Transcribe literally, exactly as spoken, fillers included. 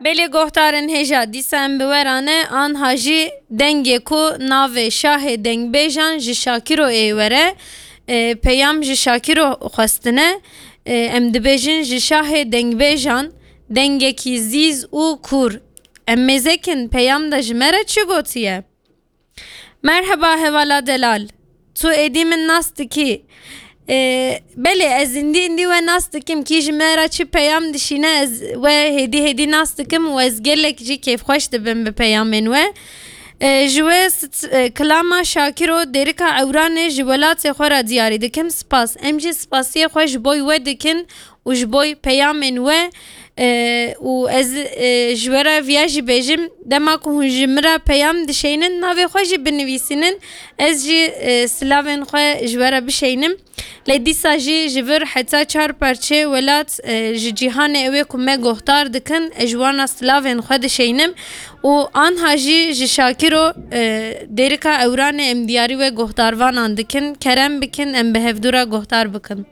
Belê guhdarên hêja dîsa em bi we re ne, anha jî dengê ku navê şahê dengbêjan ji Şakiro ê were, e, peyam ji Şakiro xwestine, e, em dibêjin ji şahê dengbêjan dengekî zîz û kûr. Em mêzekin peyam de ji me re çi gotiye? Merheba hevala delal. Tu êdî min nas dikî? Ee, belê, ez îndî îndî we nas dikim. Kî ji me re çi peyam dişîne, ez we hêdî hêdî nas dikim û ez gelek jî kêfxweş dibim bi peyamên we. Ee, ji we st-, e, kilama Şakiro Dêrika Ewranê ji welatê xwe re diyarî dikim. Spas. Em jî spasiyê xwe ji boy we dikin û ji boy peyamên we, e, û ez, e, ji we re viya jî bêjim, dema ku hûn ji min re peyam dişeynin, navê xwe jî binivîsînin, ez jî, e, silavên xwe ji we re bişeynim. Lê dîsa jî ji vir heta çar parçeyê welat, e, ji cîhanê ew ê ku me guhdar dikin, ez ji wana silavên xwe dişeynim û anha jî ji Şakiro, e, Dêrika Ewranê em diyarî we guhdarvanan dikin. Kerem bikin, em bi hevdû re guhdar bikin.